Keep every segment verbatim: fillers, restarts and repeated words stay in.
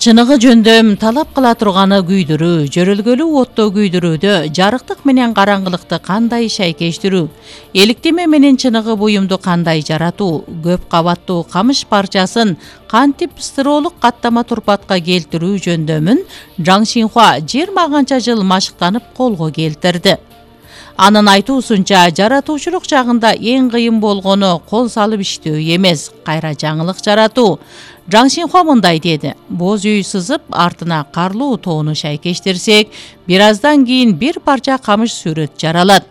Чыныгы жөндөм талап кыла турганы күйдүрүү, жөрөлгөлүү отто күйдүрүүдө жарыктык менен караңгылыкты кандай шайкештирүү, эликтеме менен чыныгы буюмду кандай жаратуу, көп кабаттуу камыш парчасын кантип стыролук каттама турпатка келтирүү жөндөмүн Жаң Шинхуа жыйырма канча жыл машыктанып колго келтирди. Анын айтуусунча, жаратуучулук жагында эң кыйын болгону кол салып иштөө эмес, кайра жаңылык жаратуу. Жаң Шинхуа мындай деди: боз үй сызып, артына карлуу тоону шайкештирсек, бир аздан кийин бир парча камыш сүрөт жаралат.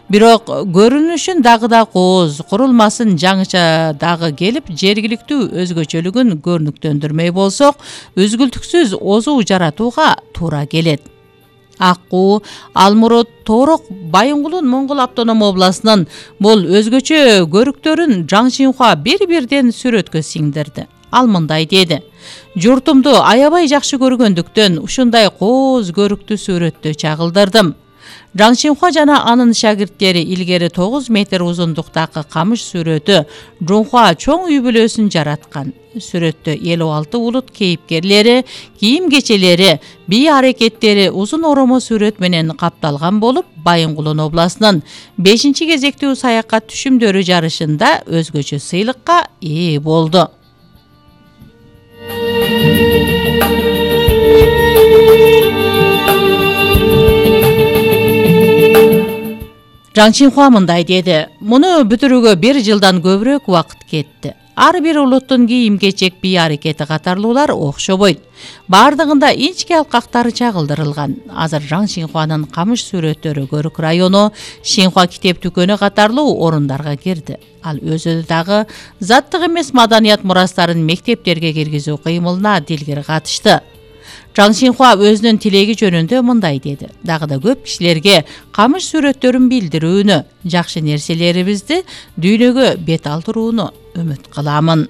Бирок көрүнүшүн дагы да кооз, курулмасын жаңыча дагы келип, жергиликтүү өзгөчөлүгүн көрүнүктөндүрмөй болсок, үзгүлтүксүз озуу жаратууга туура келет. Аккуу, Алмурут, Тоорок, Байынгулун Моңгол автоном областынын бул өзгөчө көрүктөрүн Жаң Шинхуа бир-бирден сүрөткө сиңдирди. Ал мындай деди: журтумду аябай жакшы көргөндүктөн ушундай кооз көрүктүү сүрөттү чагылдырдым. Жаң Шинхуа жана анын шагирттери илгери тогуз метр узундуктагы камыш сүрөтү Жунхуа чоң үй бүлөсүн жараткан. Сүрөттө элүү алты улут кейипкерлери, кийим-кечелери, бий аракеттери узун оромо сүрөт менен капталган болуп, Байынгулун областынын бешинчи кезектүү саякат түшүмдөрү жарышында өзгөчө сыйлыкка ээ болду. Жаң Шинхуа мындай деди: муну бүтүрүүгө бир жылдан көбүрөөк убакыт кетти. Ар бир улуттун кийим-кечек, бий аракети катарлуулар окшобойт. Бардыгында инчке алкактары чагылдырылган. Азыр Жаң Шинхуанын камыш сүрөттөрү Көрүк району, Шинхуа китеп дүкөнү катарлуу орундарга кирди. Ал өзү дагы заттык эмес маданият мурастарын мектептерге киргизүү кыймылына дилгир катышты. Жаң Шинхуа өзүнүн тилеги жөнүндө мындай деди: дагы да көп кишилерге камыш сүрөттөрүн билдирүүнү, жакшы нерселерибизди дүйнөгө бет алдырууну үмүт кыламын.